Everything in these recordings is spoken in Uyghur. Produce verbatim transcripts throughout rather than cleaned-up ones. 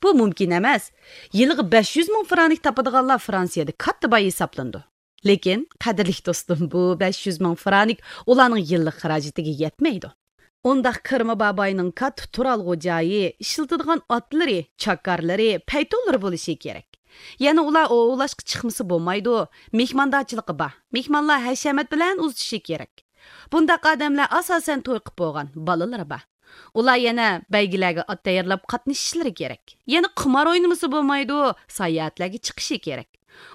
بۇ مۇمكىن ئەمەس. يىلىغا بەش يۈز مىڭ فرانك تاپىدىغانلار فرانسىيەدە كاتتا باي ھېسابلىنىدۇ. لېكىن، قەدىرلىك دوستۇم، بۇ بەش يۈز مىڭ فرانك ئۇلارنىڭ يىللىق خىراجىتىگە يەتمەيدۇ. ئۇنداق كىرىمى بار باينىڭ كاتتا تۇرالغۇ جايى، ئىشلىتىدىغان ئاتلىرى، چاكارلىرى، پەيتۇنلىرى بولۇشى كېرەك. يەنە ئۇلار ئوۋلاشقا چىقمىسا بولمايدۇ، مېھماندارچىلىقى بار، مېھمانلار ھەشەمەت بىلەن ئۇزىتىشى كېرەك. بۇنداق ئادەملەر ئاساسەن توي قىپ بولغان، بالىلىرى بار. ئۇلار يەنە بەيگىلەرگە ئات تەييارلاپ قاتنىشىشلىرى كېرەك. يەنە قىمار ئوينىمىسا بولمايدۇ، ساياھەتلەرگە چىقىشى كېرەك.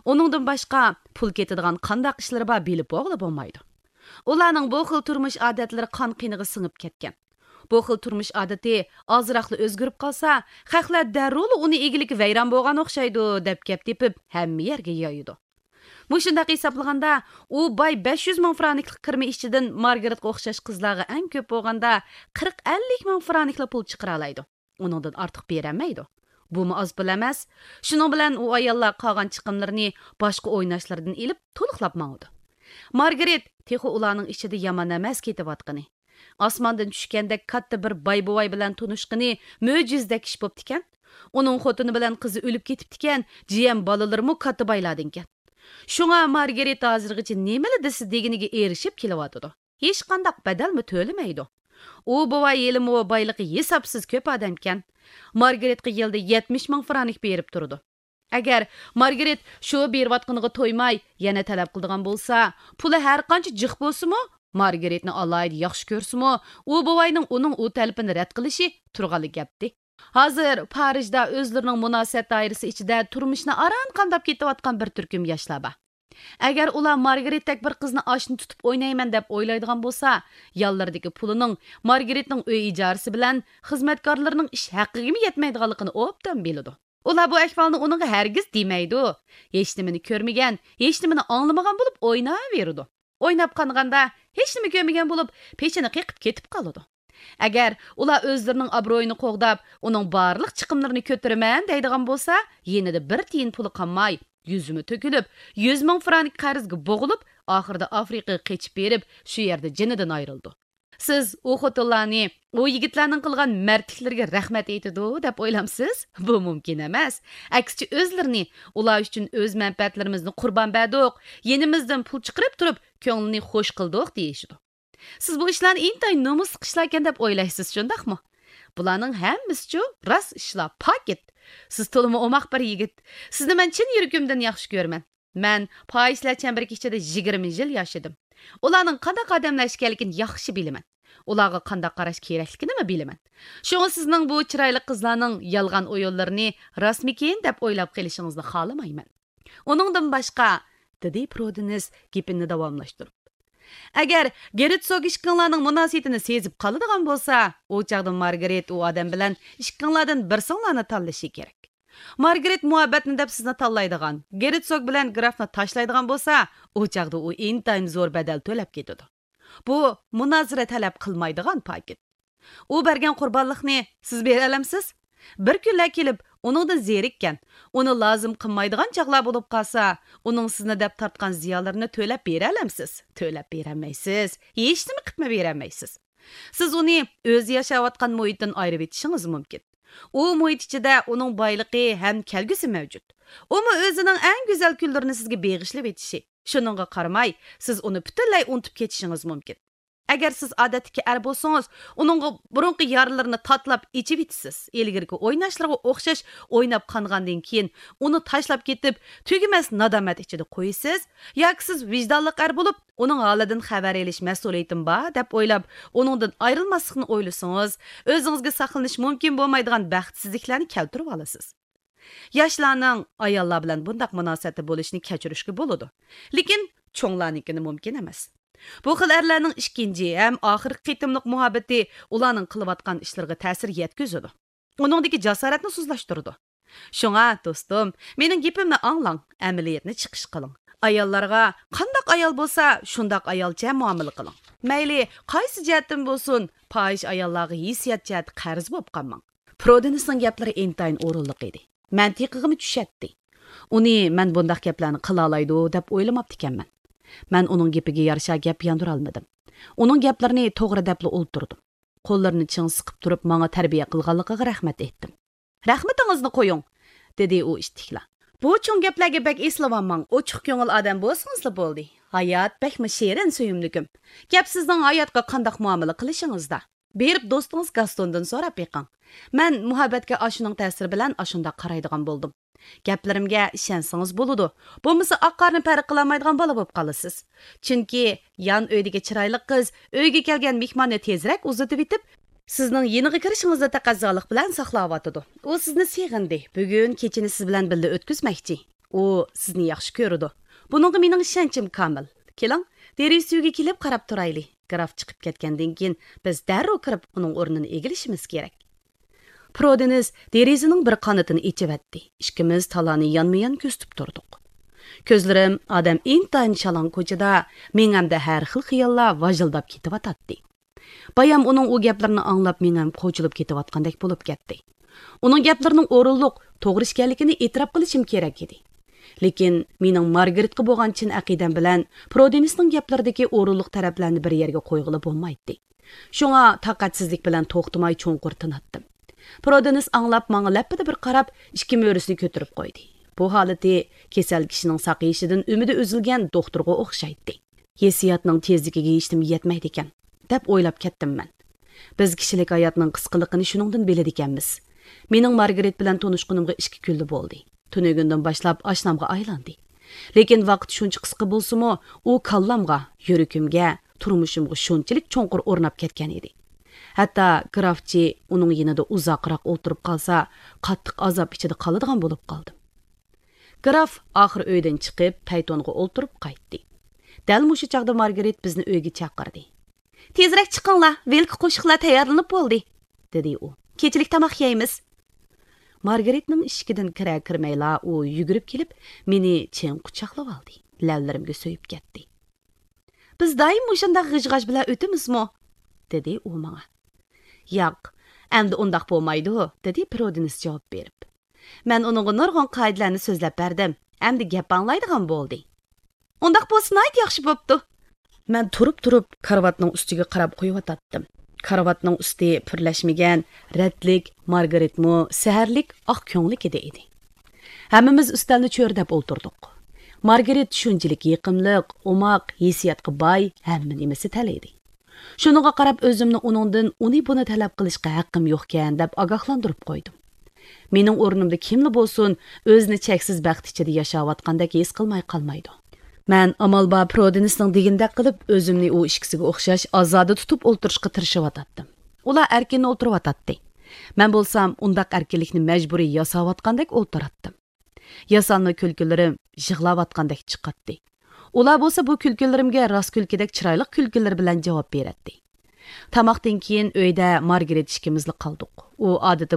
ئۇنىڭدىن باشقا، پۇل كېتىدىغان قانداق ئىشلىرى بار بىلىپ بولغىلى بولمايدۇ. ئۇلارنىڭ بۇ خىل تۇرمۇش ئادەتلىرى قان قېنىغا سىڭىپ كەتكەن. بۇ خىل تۇرمۇش ئادىتى ئازراقلا ئۆزگىرىپ قالسا، خەقلەر دەررۇلا ئۇنى ئىگىلىكى ۋەيران بولغان ئوخشايدۇ، دەپ گەپ تېپىپ، ھەممە يەرگە يايىدۇ. مۇشۇنداق ھېسابلىغاندا، ئۇ باي بەش يۈز مىڭ فرانكلىق كىرىمى ئىچىدىن مارگارېتقا ئوخشاش قىزلارغا ئەڭ كۆپ بولغاندا قىرىق ئەللىك مىڭ فرانكلا پۇل چىقىرالايدۇ. ئۇنىڭدىن ئارتۇق بېرەلمەيدۇ. بۇمۇ ئاز پۇل ئەمەس. شۇنىڭ بىلەن ئۇ ئاياللار قالغان چىقىملىرىنى باشقا ئويناشلىرىدىن ئېلىپ تولۇقلاپ ماڭىدۇ. مارگارېت تېخى ئۇلارنىڭ ئىچىدە يامان ئەمەس كېتىۋاتقىنى. ئاسماندىن چۈشكەندەك كاتتا بىر باي بوۋاي بىلەن تونۇشقىنى مۆجىزىدەك ئىش بوپتىكەن. ئۇنىڭ خوتۇنى بىلەن قىزى ئۆلۈپ كېتىپتىكەن، جىيەن بالىلىرىمۇ كاتتا بايلاردىنكەن. شۇڭا مارگارېت ھازىرغىچە نېمىلا دېسە دېگىنىگە ئېرىشىپ كېلىۋاتىدۇ. ھېچقانداق بەدەلمۇ تۆلىمەيدۇ. ئۇ بوۋاي ھېلىمۇ بايلىقى ھېسابسىز كۆپ ئادەمكەن. مارگارېتقا يىلدا يەتمىش مىڭ فرانك بېرىپ تۇرىدۇ. ئەگەر مارگارېت شۇ بېرىۋاتقىنىغا تويماي، يەنە تەلەپ قىلىدىغان بولسا، پۇلى ھەرقانچە جىق بولسىمۇ، مارگارېتنى ئالاھىدە ياخشى كۆرسىمۇ، ئۇ بوۋاينىڭ ئۇنىڭ ئۇ تەلىپىنى رەت قىلىشى تۇرغانلا گەپتى. ھازىر پارىژدا ئۆزلىرىنىڭ مۇناسىۋەت دائىرىسى ئىچىدە تۇرمۇشىنى ئاران قامداپ كېتىۋاتقان بىر تۈركۈم ياشلار بار. ئەگەر ئۇلار مارگارېتتەك بىر قىزنى ئاشنا تۇتۇپ ئوينايمەن دەپ ئويلايدىغان بولسا، يانلىرىدىكى پۇلىنىڭ مارگارېتنىڭ ئۆي ئىجارىسى بىلەن خىزمەتكارلىرىنىڭ ئىش ھەققىگىمۇ يەتمەيدىغانلىقىنى ئوبدان بىلىدۇ. ئۇلار بۇ ئەھۋالنى ئۇنىڭغا ھەرگىز دېمەيدۇ. ھېچنېمىنى كۆرمىگەن، ھېچنېمىنى ئاڭلىمىغان بولۇپ ئويناۋېرىدۇ. ئويناپ قانغاندا، ھېچنېمە كۆرمىگەن بولۇپ، پېشىنى قېقىپ كېتىپ قالىدۇ. ئەگەر ئۇلار ئۆزلىرىنىڭ ئابرۇيىنى قوغداپ، ئۇنىڭ بارلىق چىقىملىرىنى كۆتۈرىمەن دەيدىغان بولسا، يېنىدا بىر تىيىن پۇلى قالماي، يۈزىمۇ تۆكۈلۈپ، يۈز مىڭ فرانك قەرزگە بوغۇلۇپ، ئاخىرىدا ئافرىقىغا قېچىپ بېرىپ، شۇ يەردە جېنىدىن ئايرىلىدۇ. سىز ئۇ خوتۇنلارنى ئۇ يىگىتلەرنىڭ قىلغان مەردلىكلىرىگە رەھمەت ئېيتىدۇ دەپ ئويلامسىز؟ بۇ مۇمكىن ئەمەس. ئەكسىچە ئۆزلىرىنى، ئۇلار ئۈچۈن ئۆز مەنپەئەتلىرىمىزنى قۇربان بەردۇق، يېنىمىزدىن پۇل چىقىرىپ تۇرۇپ، كۆڭلىنى خوش قىلدۇق دېيىشىدۇ. سىز بۇ ئىشلارنى ئىنتايىن نومۇسلۇق ئىشلاركەن دەپ ئويلايسىز، شۇنداقمۇ؟ بۇلارنىڭ ھەممىسىچۇ راست ئىشلار، پاكىت. سىز تولىمۇ ئوماق بىر يىگىت. سىزنى مەن چىن يۈرىكىمدىن ياخشى كۆرىمەن. مەن پاھىشىلەر چەمبىرىكى ئىچىدە يىگىرمە يىل ياشىدىم. ئۇلارنىڭ قانداق ئادەملەر ئىكەنلىكىنى ياخشى بىلىمەن. ئۇلارغا قانداق قاراش كېرەكلىكىنىمۇ بىلىمەن. شۇڭا سىزنىڭ بۇ چىرايلىق قىزلارنىڭ يالغان ئويۇنلىرىنى راستمىكىن دەپ ئويلاپ قېلىشىڭىزنى خالىمايمەن. ئۇنىڭدىن باشقا، دېدى پرودېنس گېپىنى داۋاملاشتۇرۇپ، ئەگەر گېرتسوگ ئىككىڭلارنىڭ مۇناسىۋىتىنى سېزىپ قالىدىغان بولسا، ئۇ چاغدا مارگارېت ئۇ ئادەم بىلەن ئىككىڭلاردىن بىرسىڭلارنى تاللىشى كېرەك. مارگارېت مۇھەببەتنى دەپ سىزنى تاللايدىغان، گېرتسوگ بىلەن گرافنى تاشلايدىغان بولسا، ئۇ چاغدا ئۇ ئىنتايىن زور بەدەل تۆلەپ كېتىدۇ. بۇ مۇنازىرە تەلەپ قىلمايدىغان پاكىت. ئۇ بەرگەن قۇربانلىقنى سىز بېرەلەمسىز؟ بىر كۈنلەر كېلىپ، ئۇنىڭدىن زېرىككەن، ئۇنى لازىم قىلمايدىغان چاغلار بولۇپ قالسا، ئۇنىڭ سىزنى دەپ تارتقان زىيانلىرىنى تۆلەپ بېرەلەمسىز؟ تۆلەپ بېرەلمەيسىز. ھېچنېمە قىپمۇ بېرەلمەيسىز. سىز ئۇنى ئۆزى ياشاۋاتقان مۇھىتتىن ئايرىۋېتىشىڭىز مۇمكىن. ئۇ مۇھىت ئىچىدە ئۇنىڭ بايلىقى ھەم كەلگۈسى مەۋجۇت. ئۇمۇ ئۆزىنىڭ ئەڭ گۈزەل كۈنلىرىنى سىزگە بېغىشلىۋېتىشى. شۇنىڭغا قارىماي، سىز ئۇنى پۈتۈنلەي ئۇنتۇپ كېتىشىڭىز مۇمكىن. ئەگەر سىز ئادەتتىكى ئەر بولسىڭىز، ئۇنىڭغا بۇرۇنقى يارىلىرىنى تاتىلاپ ئېچىۋېتىسىز. ئىلگىرىكى ئويناشلىرىغا ئوخشاش ئويناپ قانغاندىن كېيىن، ئۇنى تاشلاپ كېتىپ، تۈگىمەس نادامەت ئىچىدە قويىسىز، ياكى سىز ۋىجدانلىق ئەر بولۇپ، ئۇنىڭ ھالىدىن خەۋەر ئېلىش مەسئۇلىيىتىم بار دەپ ئويلاپ، ئۇنىڭدىن ئايرىلماسلىقنى ئويلىسىڭىز، ئۆزىڭىزگە ساقلىنىش مۇمكىن بولمايدىغان بەختسىزلىكلەرنى كەلتۈرۈۋالىسىز. ياشلارنىڭ ئاياللار بىلەن بۇنداق مۇناسىۋەتتە بولۇشىنى كەچۈرۈشكە بولىدۇ، لېكىن چوڭلارنىڭكىنى مۇمكىن ئەمەس. بۇ خىل ئەرلەرنىڭ ئىككىنچى ھەم ئاخىرقى قېتىملىق مۇھەببىتى ئۇلارنىڭ قىلىۋاتقان ئىشلىرىغا تەسىر يەتكۈزىدۇ. ئۇنىڭدىكى جاسارەتنى سۇسلاشتۇرىدۇ. شۇڭا، دوستۇم، مېنىڭ گېپىمنى ئاڭلاڭ، ئەمەلىيەتنى چىقىش قىلىڭ. ئاياللارغا قانداق ئايال بولسا، شۇنداق ئايالچە مۇئامىلە قىلىڭ. مەيلى قايسى جەھەتتىن بولسۇن، پاھىش ئاياللارغا ھېسسىيات جەھەتتە قەرز بولۇپ قالماڭ. پرودېنسنىڭ گەپلىرى ئىنتايىن ئورۇنلۇق ئىدى. مەنتىقىغىمۇ چۈشەتتى. ئۇنى مەن بۇنداق گەپلەرنى قىلالايدۇ دەپ ئويلىماپتىكەنمەن. مەن ئۇنىڭ گېپىگە يارىشا گەپ ياندۇرالمىدىم. ئۇنىڭ گەپلىرىنى توغرا دەپلا ئولتۇردۇم. قوللىرىنى چىڭ سىقىپ تۇرۇپ، ماڭا تەربىيە قىلغانلىقىغا رەھمەت ئېيتتىم. رەھمىتىڭىزنى قويۇڭ، دېدى ئۇ ئىتتىكلا. بۇ چوڭ گەپلەرگە بەك ئېسىلىۋالماڭ، ئوچۇق كۆڭۈل ئادەم بولسىڭىزلا بولدى. ھايات بەكمۇ شېرىن، سۆيۈملۈكۈم. گەپ سىزنىڭ ھاياتقا قانداق مۇئامىلە قىلىشىڭىزدا. بېرىپ دوستىڭىز گاستوندىن سوراپ بېقىڭ. مەن مۇھەببەتكە ئاشۇنىڭ تەسىرى بىلەن ئاشۇنداق قارايدىغان بولدۇم. گەپلىرىمگە ئىشەنسىڭىز بولىدۇ. بولمىسا ئاق قارنى پەرق قىلالمايدىغان بالا بولۇپ قالىسىز. چۈنكى يان ئۆيدىكى چىرايلىق قىز ئۆيگە كەلگەن مېھماننى تېزرەك ئۇزىتىۋېتىپ، سىزنىڭ يېنىغا كىرىشىڭىزنى تەقەززالىق بىلەن ساقلاۋاتىدۇ. ئۇ سىزنى سېغىندى. بۈگۈن كېچىنى سىز بىلەن بىللە ئۆتكۈزمەكچى. ئۇ سىزنى ياخشى كۆرىدۇ. بۇنىڭغا مېنىڭ ئىشەنچىم كامىل. كېلىڭ، دېرىزە تۈۋىگە كېلىپ قاراپ تۇرايلى. گراف چىقىپ كەتكەندىن كېيىن، بىز دەررۇ كىرىپ ئۇنىڭ ئورنىنى ئىگىلىشىمىز كېرەك. پرودېنس دېرىزىنىڭ بىر قانىتىنى ئېچىۋەتتى. ئىككىمىز تالانى يانمۇيان كۆزىتىپ تۇردۇق. كۆزلىرىم ئادەم ئىنتايىن شالاڭ كوچىدا مېڭەمدە ھەر خىل خىياللار ۋاژىلداپ كېتىۋاتاتتى. بايام ئۇنىڭ ئۇ گەپلىرىنى ئاڭلاپ مېڭەم قوچۇلۇپ كېتىۋاتقاندەك بولۇپ كەتتى. ئۇنىڭ گەپلىرىنىڭ ئورۇنلۇق، توغرا ئىكەنلىكىنى ئېتىراپ قىلىشىم كېرەك ئىدى. لېكىن مېنىڭ مارگرېتقا بولغان چىن ئەقىدەم بىلەن پرودېنسنىڭ گەپلىرىدىكى ئورۇنلۇق تەرەپلەرنى بىر يەرگە قويغىلى بولمايتتى. شۇڭا تاقەتسىزلىك بىلەن توختىماي چوڭقۇر تىناتتىم. پرودېنس ئاڭلاپ ماڭا لەپپىدە بىر قاراپ، ئىككى مۈرىسىنى كۆتۈرۈپ قويدى. بۇ ھالىتى كېسەل كىشىنىڭ ساقىيىشىدىن ئۈمىدى ئۈزۈلگەن دوختۇرغا ئوخشايتتى. ھېسسىياتنىڭ تېزلىكىگە ھېچنېمە يەتمەيدىكەن، دەپ ئويلاپ كەتتىم مەن. بىز كىشىلىك ھاياتنىڭ قىسقىلىقىنى شۇنىڭدىن بىلىدىكەنمىز. مېنىڭ مارگرېت بىلەن تونۇشقىنىمغا ئىككى كۈنلا بولدى. تۈنۈگۈندىن باشلاپ ئاشنامغا ئايلاندى. لېكىن ۋاقىت شۇنچە قىسقا بولسىمۇ، ئۇ كاللامغا، يۈرىكىمگە، تۇرمۇشۇمغا شۇنچىلىك چوڭقۇر ئورناپ كەتكەن ئىدى. ھەتتا گرافچى ئۇنىڭ يېنىدا ئۇزاقراق ئولتۇرۇپ قالسا، قاتتىق ئازاب ئىچىدە قالىدىغان بولۇپ قالدىم. گراف ئاخىر ئۆيدىن چىقىپ، پەيتونغا ئولتۇرۇپ قايتتى. دەل مۇشۇ چاغدا مارگرېت بىزنى ئۆيگە چاقىردى. تېزرەك چىقىڭلار، ۋىلكا قوشۇقلار تەييارلىنىپ بولدى، دېدى ئۇ. كېچىلىك تاماق يەيمىز. مارگرېتنىڭ ئىشىكىدىن كىرەر كىرمەيلا ئۇ يۈگۈرۈپ كېلىپ، مېنى چىڭ قۇچاقلىۋالدى، لەۋلىرىمگە سۆيۈپ كەتتى. بىز دائىم مۇشۇنداق غىژ-غاژ بىلەن ئۆتىمىزمۇ؟ دېدى ئۇ ماڭا. ياق، ئەمدى ئۇنداق بولمايدۇ، دېدى پرودېنس جاۋاب بېرىپ. مەن ئۇنىڭغا نۇرغۇن قائىدىلەرنى سۆزلەپ بەردىم، ئەمدى گەپ ئاڭلايدىغان بولدى. ئۇنداق بولسا ناھايىتى ياخشى بوپتۇ. مەن تۇرۇپ-تۇرۇپ كارىۋاتنىڭ ئۈستىگە قاراپ قويۇۋاتاتتىم. كارىۋاتنىڭ ئۈستى پۈرلەشمىگەن، رەتلىك، مارگرېتمۇ سەھەرلىك ئاق كۆڭلۈك ئىدى ئىدى. ھەممىمىز ئۈستەلنى چۆرىدەپ ئولتۇردۇق. مارگرېت شۇنچىلىك يېقىملىق، ئوماق، ھېسسىياتقا باي، ھەممە نېمىسى تەل ئىدى. شۇنىڭغا قاراپ ئۆزۈمنى ئۇنىڭدىن ئۇنى بۇنى تەلەپ قىلىشقا ھەققىم يوقكەن دەپ ئاگاھلاندۇرۇپ قويدۇم. مېنىڭ ئورنۇمدا كىملا بولسۇن، ئۆزىنى چەكسىز بەخت ئىچىدە ياشاۋاتقاندەك ھېس قىلماي قالمايدۇ. مەن ئامال بار پرودېنسنىڭ دېگىنىدەك قىلىپ، ئۆزۈمنى ئۇ ئىككىسىگە ئوخشاش ئازادە تۇتۇپ ئولتۇرۇشقا تىرىشىۋاتاتتىم. ئۇلار ئەركىن ئولتۇرۇۋاتاتتى. مەن بولسام ئۇنداق ئەركىنلىكنى مەجبۇرىي ياساۋاتقاندەك ئولتۇراتتىم. ياسانما كۈلكىلىرىم يىغلاۋاتقاندەك چىقاتتى. ئۇلار بولسا بۇ كۈلكىلىرىمگە راست كۈلكىدەك چىرايلىق كۈلكىلىرى بىلەن جاۋاب بېرەتتى. تاماقتىن كېيىن ئۆيدە مارگرېت ئىككىمىزلا قالدۇق. ئۇ ئادىتى